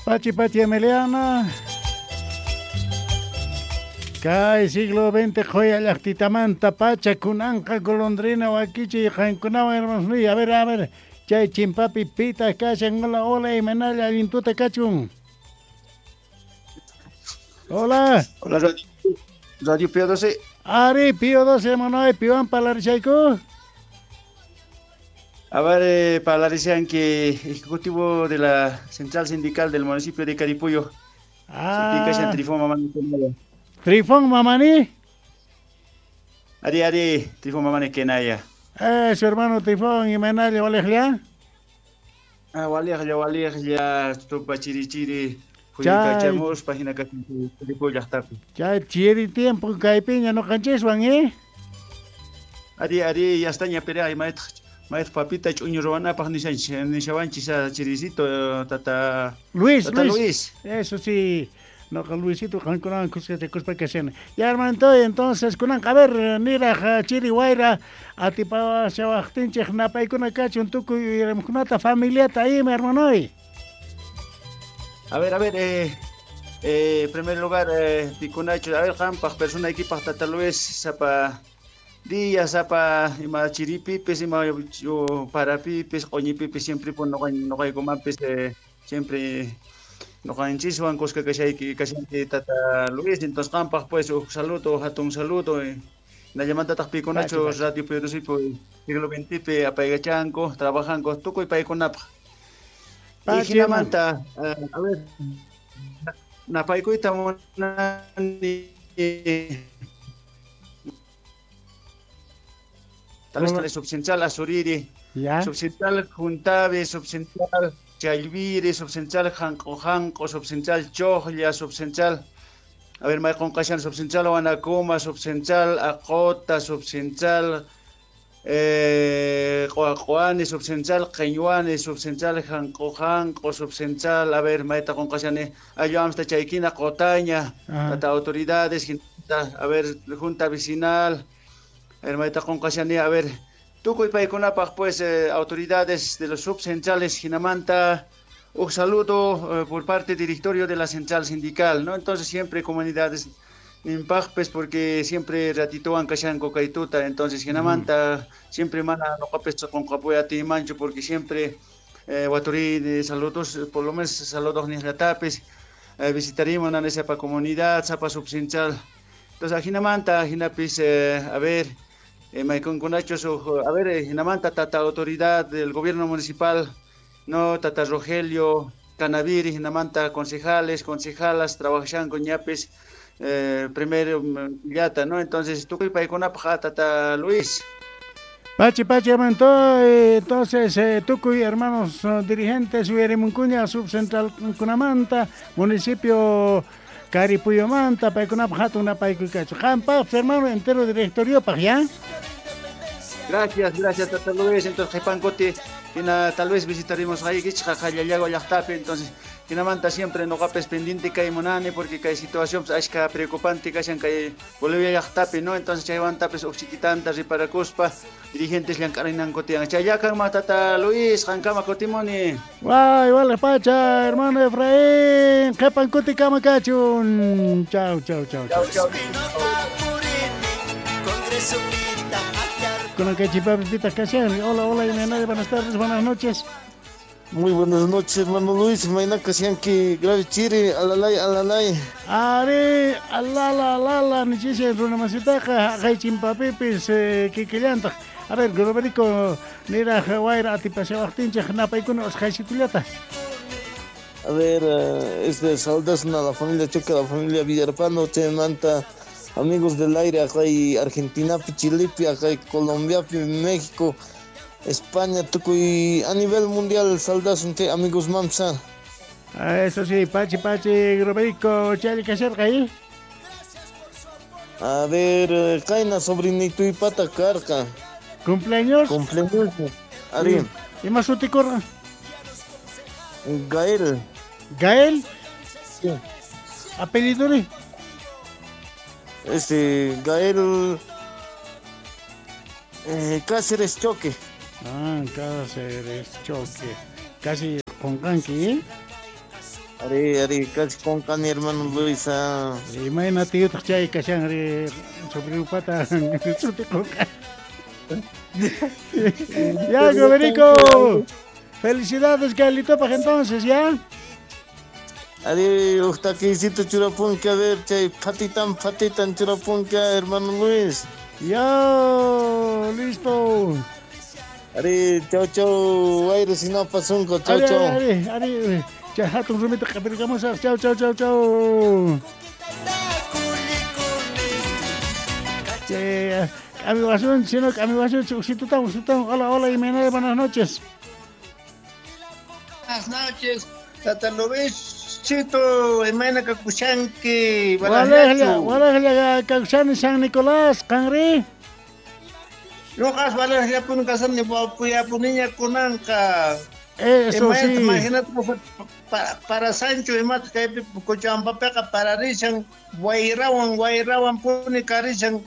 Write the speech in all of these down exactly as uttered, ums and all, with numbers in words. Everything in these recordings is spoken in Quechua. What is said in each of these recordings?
Pachi Pachi Emiliana. Kay siglo veinte joya llaqtitamanta pacha kunanqa golondrina wakichi qankunawan hermanos. A ver, a ver, chay chimpapi pita kashan. Hola, hola, imanalla allintuta kachun. Hola. Hola, Radio, Radio Pío doce. Ari, Pío doce, hermano, piwan palarishayku. A ver, eh, palarishan que ejecutivo de la Central Sindical del municipio de Caripuyo. Ah. Trifón Mamani. Trifón Mamani. Ari, ari, Trifón Mamani Kenaya. Eh, su hermano Trifón y Menaya, ¿vale ya? Ah, vale ya, vale ya, tupa chiri chiri. Chay, página chay chiri tiempo kaypiña ñuqanchiswan, ¿eh? Ari, ari, ya está ña pero maestro, maestro papita ch'uñu ruwanapaq nishanchis nishawanchis chiricito tata Luis, tata Luis. Luis. Eso sí. No, Luisito, qankunawan kuska kashani. Ya, hermanito, entonces, kunanqa, a ver, niraq chiri wayra atipawashawaqtinchik napaykuna kachun tukuy uyarimuqkunata familiata ima, hermanoy. A ver, a ver, eh, eh, en primer lugar, eh, pikunachu, a ver, qampaq persona equipaq tata Luis, sapa día, sapa ima chiripipis, ima parapipis, q'uñipipis, siempre pon noqaykumanpis, eh, siempre noqanchiswan kuska kashayki kashanki tata Luis, entonces qampaq pues un saludo, hatun saludo, eh. Nallamantataq pikunachu Radio Pío doce siglo veinte apaykachanku, trabajanku tukuy paykunapaq. Y jinamanta, uh, a ver, napaykuyta munani tal vez subcentral Asuriri, subcentral Juntabe, subcentral Chalviri, subcentral Janco Janco, subcentral Chojlla, subcentral, a ver, mayqunqashan, subcentral Wanakuma, subcentral Acota, subcentral eh, Qoaqoani, subcentral Qeñuani, subcentral Janco Janco, subcentral, a ver, mayta qunqashani, ayllu amsta chaykina Qotaña, tata autoridades, a ver, junta vecinal, a ver, mayta qunqashani, a ver, tukuy paykunapaq pues eh, autoridades de los subcentrales jinamanta, un saludo eh, por parte del directorio de la central sindical, ¿no? Entonces siempre comunidades impajpes porque siempre ratitoan kashanku kaytuta, entonces jinamanta mm. siempre mana noqapis qunqapuy atimanchu porque siempre eh, waturini saludos, por lo menos saludos nislatapis, eh, visitaremos a esa comunidad, sapa subcentral. Entonces jinamanta, jinapis, eh, a ver, eh, a ver, jinamanta tata autoridad del gobierno municipal, no, tata Rogelio Canaviri, jinamanta concejales, concejalas, trabajan con ñapis, eh, primero llata, ¿no? Entonces, tukuy paykunapaq tata Luis. Pachi, pachi, entonces, eh, tukuy hermanos dirigentes, uyarimunkuña, subcentral kunamanta, municipio Caripuyomanta, paykunapaq hatun napaykuy kachu. Qampaq, hermano, entero directorio, paq, ¿ya? Gracias, gracias, tata Luis. Entonces, qhipankuti, hina tal vez visitaremos ahí, qichqa llaqtapi, entonces, hinamanta siempre noqapis pendiente kay munani porque kay situación ashka preocupante kashan kay Bolivia llaqtapi, ¿no? Entonces, chaywantapis uqchiquitanta riparakuspa dirigentes llank'arinanku tiyan. Chayllakanma tata Luis, qankama kutimuni. Guay, wale pacha, hermano Efraín, qhipankuti kama kachun. Chau, chau, chau, chau. Chau, chau. Con que chipapita kashan. Hola, hola, y buenas tardes, buenas noches. Muy buenas noches, hermano Luis. Mayna kashanki grave chiri, alalay, alalay. Ari, alala, alala, nichisha runamasitaqa, haqay chimpapipis, kikillantaq. A ver, Groberico, niraq wayra atipashawaqtinchik napaykuna usqhaysitullata. A ver, este, saludos a la familia Choca, a la familia Villarpano, Chemanta, amigos del aire, acá y Argentina, Chile, acá y Colombia, México, España, tukuy a nivel mundial, saludos amigos mamsa. Eso sí, pachi, pachi, Groberico, chali kasharqa ahí. A ver, kaina sobrinito y pata karka. ¿Cumpleaños? Cumpleaños, Ari. ¿Y más sutikorqa? Gael. ¿Gael? Sí. ¿Apellido? Este, Gael eh, Cáceres Choque. Ah, Cáceres Choque. Casi con Kanki, ¿eh? Ari, ari, casi con cani hermano Luisa. Imayna tiyutaq chay kashan ri sobrinupata suti qonqani. Ya, Goberico. Felicidades, Gailitopaj entonces, ¿ya? Ari, uqtakiycito churapunki, a ver, chay patitan, patitan churapunki, hermano Luis. Ya, listo. Ari, chau, chau, aire si no pasunko, chau, Ari, chau. ari, ari, chay hatun rumita q'ipirikamusaq, chau, chau, chau, chau. Che, k'amiwasunchik, sino k'amiwasunchik, uksitutan, uksitutan, hola, hola, imaynalla, buenas noches. Buenas noches, Tata Luisito, imayna kakushanki, Walejlla, walejlla, kakushani San Nicolás, qanri? Ñuqas walejllapuni kasani wapuyapuniña kunanqa. Eso sí. Imagínate para, para Sancho imata kaypi Cochabambapiqa pararishan wayrawan wayrawan puni karishan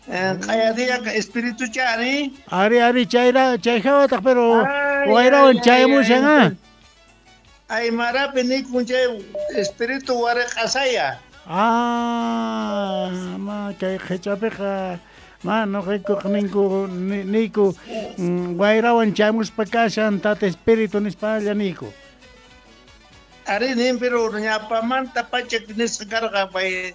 q'ayariyaqa espiritucha ari. Ari, ari, chayra, chay hawataq, pero wayrawan chayamushan, ah. Aymarapi nikun chay espíritu wariq'asaya. Ah, ma kay qhichwapiqa ma nuqaykuqa ninku niyku wayrawan chayamuspa kashan tata espíritu nispalla niyku. Ari nin pero ñapamanta pacha nisqa karqa pay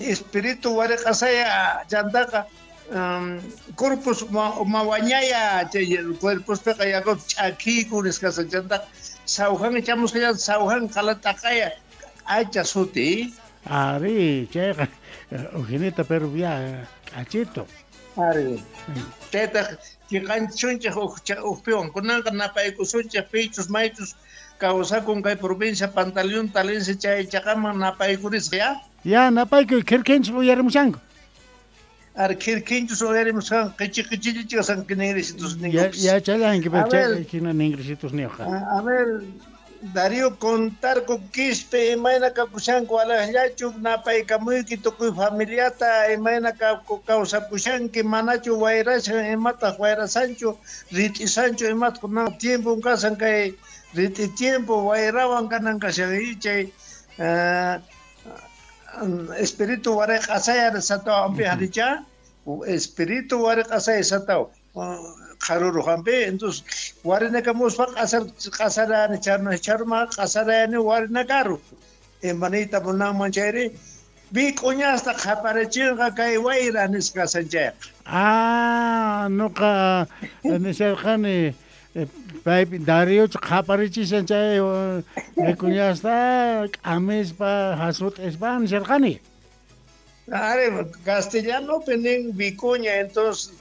espíritu wariq'asaya chantaqa um, corpus mawañaya chay cuerpuspiqa yaku ch'akiyku nisqasan chantaqa sawjan chamusqallan sawjan qalataqaya aycha suti. Ari, chayqa ujinita pero ya k'achito. Ari. Chaytaq chiqanchunchik uqpiwan kunanqa napaykusunchik pichus maychus kawsakun kay provincia Pantaleón Talense chay chaqaman napaykurisqa ya. Ya napaykuy khirkinchus uyarimushanku. Ari khirkinchus uyarimusqanku qichi qichillichikasan ningrisitus ninkupas. Ya yachallanki pero chay hina ningrisitus niyuqqa. A ver, Darío Contarco Quispe, imayna kakushanku alaqllachu napaykamuyki tukuy familiata, imayna kawsakushanki manachu wayrashan imataq wayrasanchu rit'isanchu imataq kunan tiempo kasan kay rit'i tiempo wayrawan kanan kashan chay espíritu wariq'asaya satawanpi haricha espíritu wariq'asaya sataw qharuruqanpi entonces warinakamuspa q'asar q'asarani charna charma q'asarani warinakaru imaniyta munanman chayri vik'uñasta qhaparichinqa kay wayra nisqa chayqa. Ah, nuqa nisharqani paypi Dariochu qhaparichishan chay vik'uñasta k'amispa hasut'ispa nisharqani. Ari castellanopi nin vicuña entonces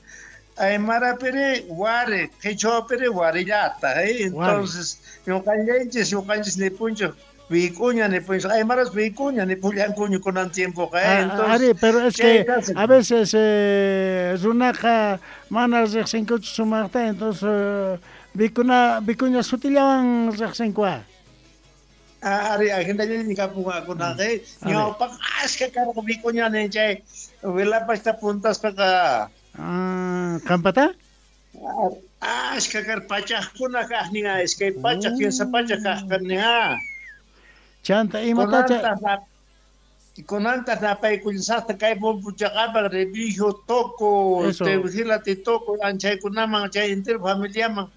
Aymarapiri wari, qhichwapiri warillata, ¿eh? Entonces, ñuqanchis, ñuqanchis nipunchik vicuña nipunchik, aymaras vicuña nipullankuña kunan tiempoqa, ¿eh? Entonces, ari, pero es que a veces eh, runaqa mana riqsinkuchu sumaqta, entonces eh, vicuna, vicuña sutillawan riqsinku. Ari, ajinallani kapunqa kunan, ¿eh? Ñawpaq ashka karqa vicuña nin chay wilapasta puntaspaqa. Ah, ¿qampata? Ashka kar pachaqkuna kaqnin, iskay pachaq, kimsa pachaq kaqnin. Chanta imatacha kunantaq napaykullasaqta kay Pumpuchaqapaq Remigio Toco, Teujilati Toco, anchaykunaman chay entero familiaman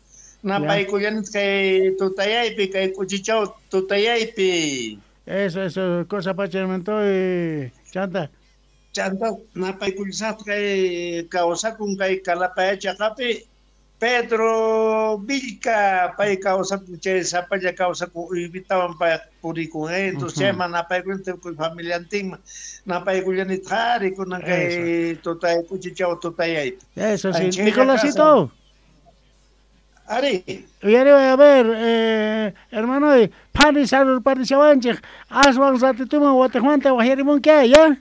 napaykullanit kay tutayaypi, kay k'uchichaw tutayaypi. Eso, eso, cosa pachamantoi, chanta. Chanta napaykullasaqta kay kawsakun kay Kalapayachaqapi Pedro Vilca pay kawsakun chay sapalla kawsakun uybitawan pay purikun, eh? Entonces chayman napaykullan tukuy familiantinman napaykullanit qhari kunan kay tutay k'uchichaw tutayaypi. Eso sí, Nicolásito. Ari. Uyariway, a ver, eh, hermano, phani sarurparishawanchik aswan ratituman watiqmanta waqyarimunki, ya?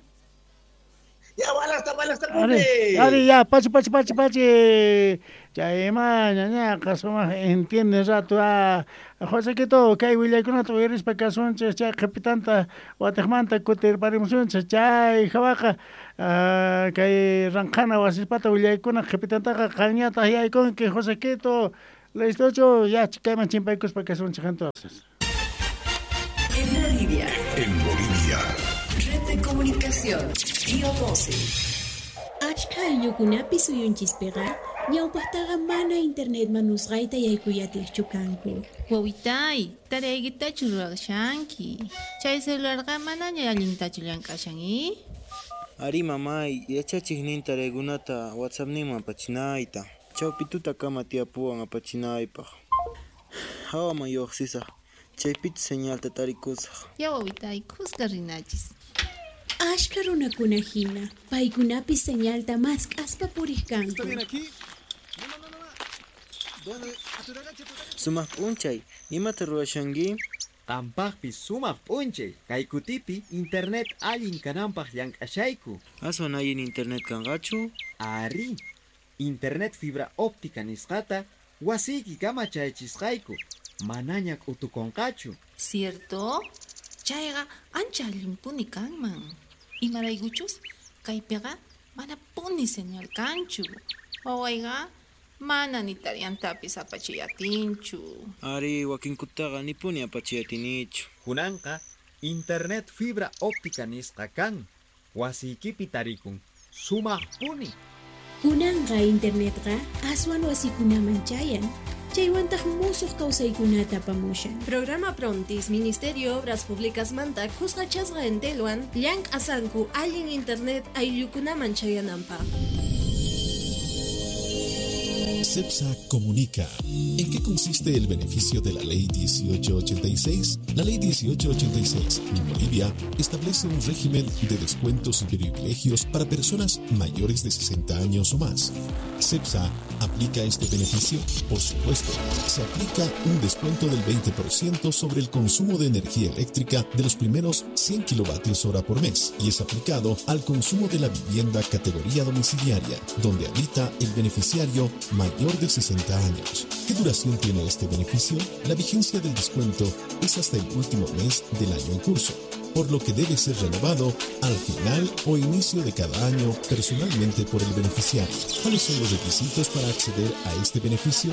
Ya, walasta, walasta, Ari, ari, ya, pachi, pachi, pachi, pachi. Chayma, ñañaqa, sumaq entiende rato, ah, Josequito, kay willaykunata uyarispa kasunchik, chay qhipitanta watiqmanta kutirparimusunchik, chay hawaqa, ah, kay ranqhana wasispata willaykuna qhipitantaqa qanñataq yaykunki, Josequito, listochu, ya, kayman chimpaykuspa kasunchik entonces. En Bolivia. En Bolivia. Red de Comunicación. Pío doce. Achka ayllukunapi suyunchispiqa ñawpaqtaqa mana internet manusqayta yaykuyatiqchu kanku. Wawitay, taraykitachu ruwashanki. Chay celularqa manaña allintachu llank'ashan, i? Ari mamay, yachachiqnin taraykunata WhatsAppninman apachinayta. Chawpi tutakama tiyapuwan apachinaypaq. Hawaman lluqsisaq, chaypichu señalta tarikusaq. Ya wawitay, kuska rinachis. Ashka runakuna hina, paykunapi señalta mask'aspa puriq kanku. ¿Está bien aquí? No, no, no, no. ¿Dónde? Sumaq p'unchay, imata ruwashanki? Qampaqpis sumaq p'unchay, kay kutipi internet allin kananpaq llank'ashayku. Aswan allin internet kanqachu? Ari, internet fibra óptica nisqata wasiyki kama chayachisqayku, manaña k'utukunqachu. Cierto? Chayqa ancha allinpuni kanman. Imaraykuchus kaypiqa manapuni señal kanchu. Wawayqa mana ni tariyantapis apachiyatinchu. Ari, wakinkutaqa nipuni apachiyatinichu. Kunanqa internet fibra óptica nisqa kan. Wasiykipi tarikun. Sumaqpuni. Kunanqa internetqa aswan wasikunaman chayan. Chaywantaq musuq kawsaykunata apamushan. Programa Prontis, Ministerio Obras Públicas manta kusqachasqa entelwan llank'asanku allin internet ayllukunaman chayananpaq. CEPSA comunica. ¿En qué consiste el beneficio de la Ley dieciocho ochenta y seis? La Ley dieciocho ochenta y seis en Bolivia establece un régimen de descuentos y privilegios para personas mayores de sesenta años o más. ¿CEPSA aplica este beneficio? Por supuesto, se aplica un descuento del veinte por ciento sobre el consumo de energía eléctrica de los primeros cien kilovatios hora por mes y es aplicado al consumo de la vivienda categoría domiciliaria, donde habita el beneficiario mayor de sesenta años. ¿Qué duración tiene este beneficio? La vigencia del descuento es hasta el último mes del año en curso, por lo que debe ser renovado al final o inicio de cada año personalmente por el beneficiario. ¿Cuáles son los requisitos para acceder a este beneficio?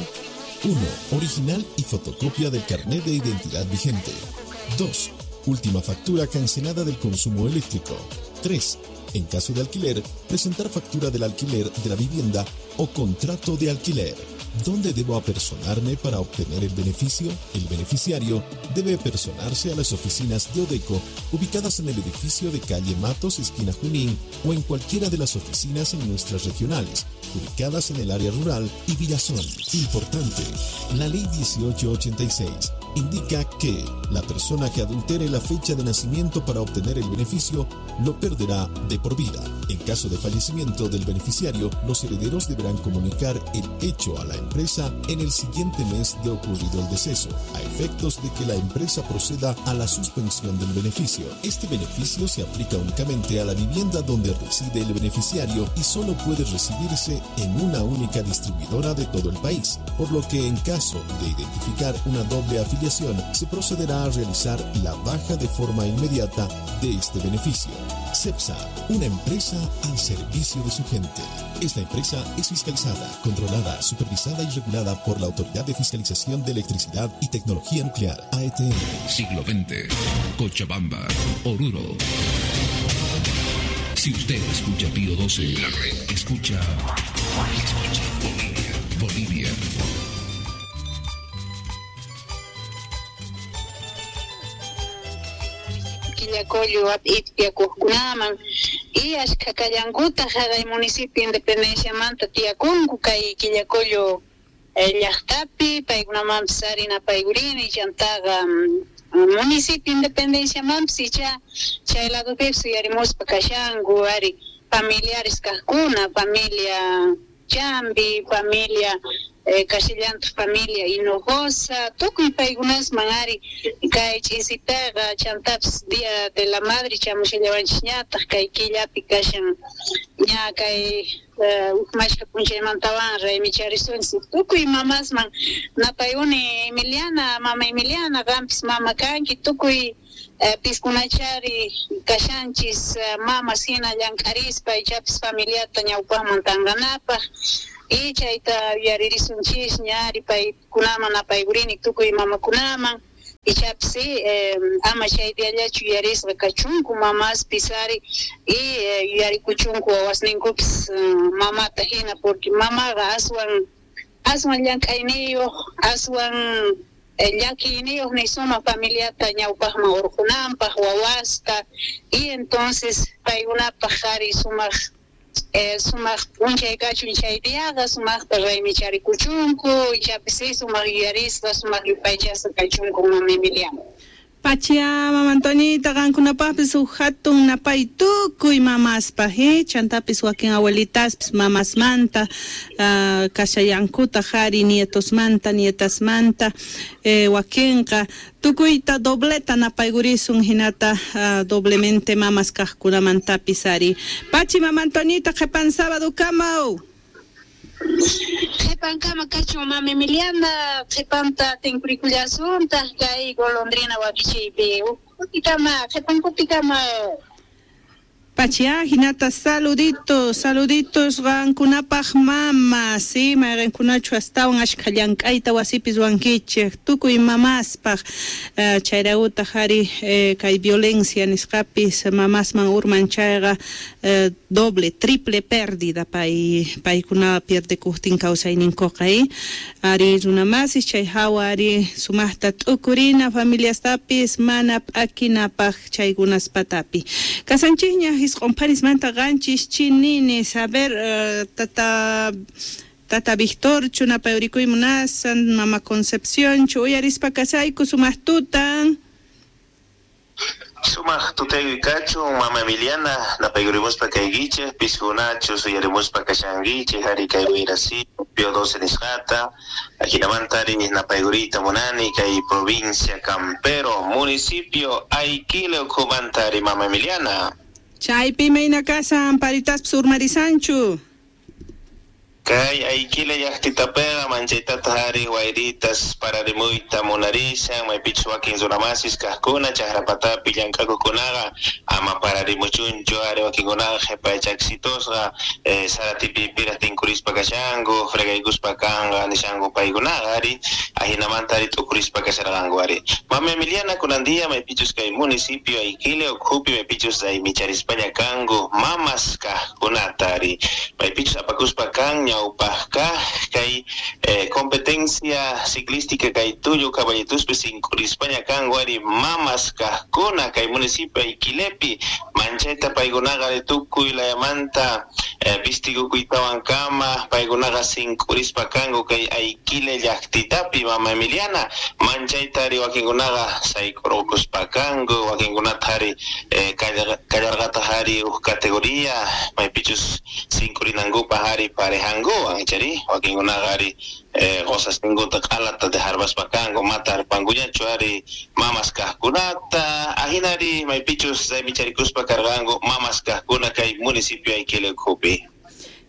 uno. Original y fotocopia del carnet de identidad vigente. dos. Última factura cancelada del consumo eléctrico. tres. En caso de alquiler, presentar factura del alquiler de la vivienda o contrato de alquiler. ¿Dónde debo apersonarme para obtener el beneficio? El beneficiario debe apersonarse a las oficinas de Odeco, ubicadas en el edificio de calle Matos, esquina Junín, o en cualquiera de las oficinas en nuestras regionales, ubicadas en el área rural y Villazón. Importante, la Ley dieciocho ochenta y seis indica que la persona que adultere la fecha de nacimiento para obtener el beneficio lo perderá de por vida. En caso de fallecimiento del beneficiario, los herederos deberán comunicar el hecho a la empresa en el siguiente mes de ocurrido el deceso, a efectos de que la empresa proceda a la suspensión del beneficio. Este beneficio se aplica únicamente a la vivienda donde reside el beneficiario y solo puede recibirse en una única distribuidora de todo el país, por lo que en caso de identificar una doble afiliación, se procederá a realizar la baja de forma inmediata de este beneficio. CEPSA, una empresa al servicio de su gente. Esta empresa es fiscalizada, controlada, supervisada y regulada por la Autoridad de Fiscalización de Electricidad y Tecnología Nuclear, A E T N. Siglo veinte, Cochabamba, Oruro. Si usted escucha Pío doce, la red escucha, escucha Bolivia, Bolivia. Quillacollo ap'itpiakuqkunaman y ashka kallankutaq haqay municipio Independenciamanta tiyakunku kay Quillacollo llaqtapi paykunamanpis arinapaykurini chantaqa municipio Independenciamanpis icha chay ladupipis uyarimuspa kashanku ari familiares kaqkuna familia Chambi, familia eh, kashillantaq familia Hinojosa, tukuy paykunasman ari kay ch'isitaqa chantapis Día de la Madre chamushallawanchikñataq kay killapi kashan ña kay uh, mashka p'unchaymantawan raymicharisunchik tukuy mamasman napayuni Emiliana, mama Emiliana qampis mama kanki tukuy eh, piskunachari kashanchis uh, mamas hina llank'arispa ichapis familiata ñawpaqman tanqanapaq y chayta yuyaririsunchis ña ari paykunaman napaykurini tukuy mamakunaman Ichapis eh, ama chay diallachu yuyarisqa kachunku mamaspis ari y eh, yuyarikuchunku wawasninkupis uh, mamata hina, porque mamaqa aswan aswan llank'ayniyuq, aswan eh, llakiyniyuq nisuma familiata ñawpaqman urqunanpaq wawasta, y entonces paykunapaq ari sumaq eh, sumaq p'unchay kachun chay diaqa, sumaqta raymicharikuchunku, ichapis sumaq yuyarisqa, sumaq yupaychasqa kachunku mama Emiliana. Pachia, mama Antonita, qankunapaqpis huk hatun napay tukuy mamaspaq, eh? Chantapis wakin abuelitaspis mamasmanta, uh, kashayankuta qhari nietosmanta, nietasmanta, eh, wakinqa tukuyta dobleta napaykurisun hinata uh, doblemente mamas kaqkunamantapis ari. Pachi, mama Antonita, qhipan sábado kamaw. Qhipankama kachun mama Emiliana, qhipanta tinkurikullasuntaq kay golondrina wakichiypi. Kutikama, qhipan kutikama. Pachia, hinata saluditos, saluditos qankunapaq mama, sí, mayqinkunachu astawan ashkha llank'ayta wasipis wankichik, tukuy mamaspaq, uh, chayrawtaq ari eh, kay violencia nisqapis mamasman urman chayqa eh, doble, triple pérdida pay paykuna pierdekuqtin kawsayninkuqa, eh? Ari runamasis chay hawa ari sumaqta t'ukurina familiastapis mana p'akinapaq chaykunaspatapi. Kasanchikña isq'unparismanta qanchis chininis. A ver, uh, tata Tata Víctor, chunapayurikuy munasan, mama Concepción, chu uyarispa kasayku sumaq tutan. Sumaq tutaykuy kachun, mama Emiliana, napaykurimuspa kaykichik, piskunachu suyarimuspa kashankichik, ari kay wayrasi, Pío doce nisqata, ajinamanta ari napaykuriyta munani, kay provincia Campero, municipio Aiquile ukhumanta ari mama Emiliana. Chaypi mayna kasan, paritaspas urmarisanchu. Kay Aiquile llaqtitapiqa manchaytataq ari wayritas pararimuyta munarisan, maypichus wakin runamasis kaqkuna chakrapatapi llank'akuqkunaqa ama pararimuchunchu ari wakinkunaqa qhipa chaksitosqa eh, saratipipiraq tinkurispa kashanku, fregaykuspa kanqa nishanku paykunaqa ari ajinamanta ari t'ukurispa kasharqanku ari. Mama Emiliana kunan día maypichus kay municipio Aiquile ukhupi maypichus raymicharispaña kanku mamas kaqkunata ari maypichus apakuspa kan ñawpaqka kay eh, competencia ciclística kay tullu caballituspi sinkurispaña kanku ari mamas kaqkuna kay municipio Aiquilepi manchayta paykunaqa ari tukuy layamanta eh, pistikukuytawan kama paykunaqa sinkurispa kanku kay Aiquile llaqtitapi mama Emiliana manchayta ari wakinkunaqa sayk'urquspa kanku wakinkunata ari eh, kallarqataq ari huk categoría maypichus sinkurinankupaq ari parejanku chari wakinkunaqa ari eh, qosasninkuta q'alata dejarpaspa kanku matarpankuñachu ari mamas kaqkunata ajinari maypichus raymicharikuspa karqanku mamas kaqkuna kay municipio Aiquile ukhupi.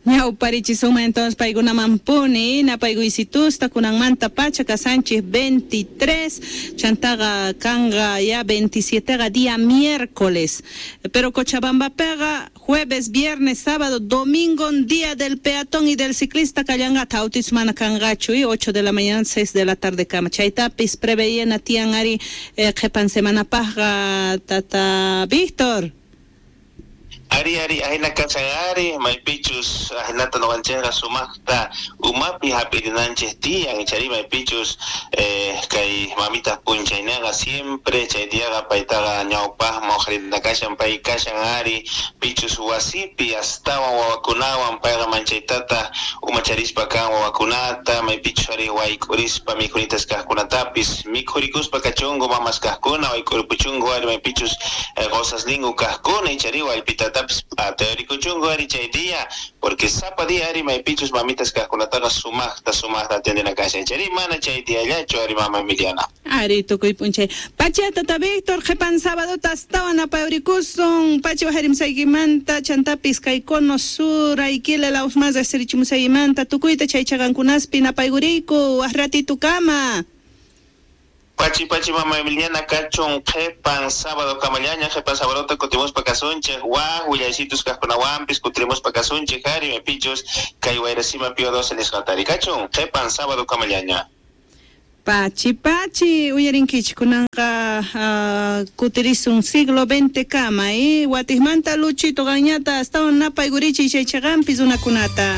Ñawparichisunman entonces paykunamanpuni napaykuycitusta kunanmanta pacha kasanchis veintitrés, chantaqa kanqa ya veintisiete día miércoles, pero Cochabambapiqa jueves, viernes, sábado, domingo, día del peatón y del ciclista kallanqa tawtis mana kanqachu y ocho de la mañana, seis de la tarde kama chaytapis preveían tiyan ari eh, qhipan semanapaqqa tata Víctor. Ari ari ahina kasan ari maypichus ahinata nuqanchikqa sumaqta umapi hap'irinanchik tiyan chari maypichus eh, kay mamita p'unchaynaqa siempre chay diaqa paytaqa ñawpaqman uqharina kashan pay kashan ari pichus wasipi astawan wawakunawan payqa manchaytata umacharispa kan wawakunata maypichus ari wayk'urispa mikhunitas kaqkunatapis mikhurikuspa kachunku mamas kaqkuna wayk'uripuchunku ari maypichus eh, qosasninku kaqkuna ichari wallpitata teórikuchunku ari chay día porque sapa día ari maypichus mamitas kaqkunataqa sumaqta sumaqta atendena kashan chari mana chay diallachu ari mama Emiliana. Ari tukuy p'unchay pacha tata Víctor qhipan sabadota astawan apayurikusun pacha wajarimsaykimanta chantapis kay cono sur Aiquile lawsmas riqsirichimusaykimanta tukuyta chay chaqankunaspi napaykuriku waq ratito kama. Pachi pachi mama Emiliana kachun qhipan sábado kamallaña qhipan sabadota kutimuspa kasunchik waq willaysitus kaqkunawanpis kutirimuspa kasunchik ari maypichus kay wayrasima Pío doce nisqata ari kachun qhipan sábado kamallaña. Pachi, pachi, uyarinkichik kunanqa uh, kutirisun siglo veinte kama, eh? Watikmanta Luchito qanñata astawan napaykurichiy chay chiqanpi runakunata.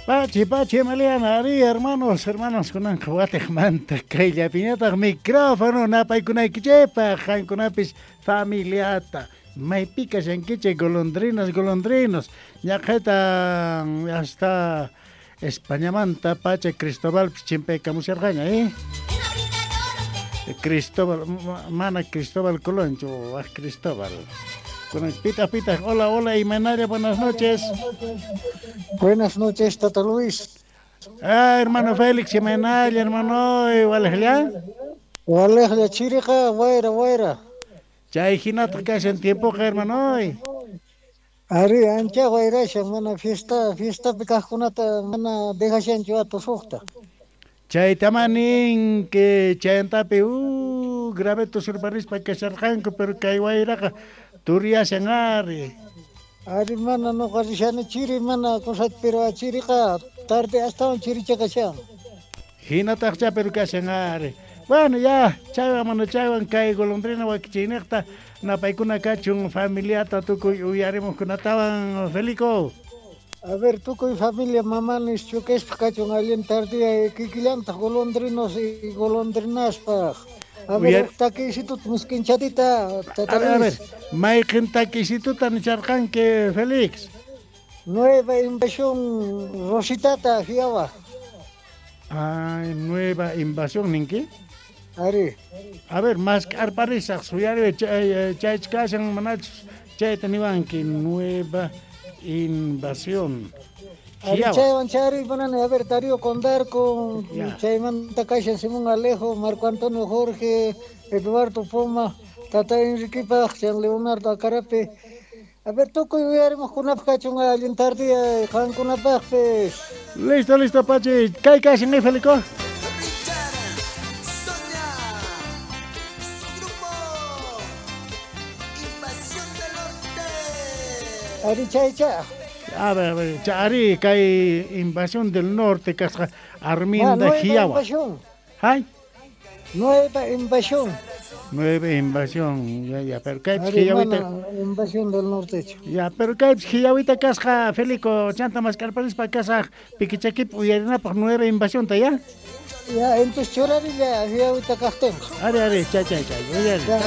Pachi, pachi, Maliana, ari, hermanos, hermanos, kunanqa watikmanta kayllapiñataq micrófono napaykunaykichikpaq qankunapis familiata. Maypi kashankichik golondrinas, golondrinos. Ñaqhayta hasta Españamanta pacha Cristóbal chimpaykamusharqaña, eh? Cristóbal, mana Cristóbal Colón, waq Cristóbal. Kunan pita pita, hola, hola, Imanaya, buenas noches. Buenas noches, Tata Luis. Ah, hermano Félix, Imanaya, hermano, walejlla. Walejlla, chiriqa, wayra, wayra. Chay hinataq kashan tiempoqa, hermano. Ari, ancha wayrashan, mana fiesta, fiestapi kaqkunata mana dejashanchu atusuqta. Chaytama nin que chayantapi uh, graveto surparispa kasharqanku, pero kay wayraqa turiyashan ari. Ari mana noqa rishani chiri mana cosat pero chiriqa tarde astawan chiricha kashan. Hinataqcha pero kashan ari. Bueno, ya, chaywan mana chaywan kay golondrina wakichiyniqta napaykuna kachun familiata tukuy uyarimuqkunatawan Felico. A ver, tukuy familia mamanis chukespaq kachun allin tardiya kikillantaq golondrinos y golondrinaspaq. A ver, Uyar... takisituta miskinchatita, Tata A ver, a ver, Luis. mayqin takisituta nicharqanki, Félix? Nueva invasión Rositata, Jiawa. Ay, nueva invasión, ninki? Ari. A ver, más arparisaq suyari chaychkashan manachus chayta niwanki nueva invasión. Ari chaywan chari manani, a ver, Darío Condarco, chaymanta kashan Simón Alejo, Marco Antonio Jorge, Eduardo Poma, Tata Enriquepaq, San Leonardo Acarape. A ver, tukuy uyarimuqkunapaq kachun allin tardiya qankunapaqpis. Listo, listo, Pachi. Kay kashan, eh, Felico. Ari chaycha. A ver, a ver, chari, kay invasión del norte, kasqa Arminda Ah, nueva Jiawa. invasión. Ay. Nueva invasión. Nueva invasión, ya, ya, pero kay Ari, Jiawita. mana, invasión del norte. Ya, pero kay Jiawita kasqa Felico, chanta maskarparispa kasaq pikichakip uyarinapaq nueva invasión ta ya. Ya, entonces churarilla Jiawita kaqtinqa. Ari, ari, chay, chay, chay, uyari. Ya,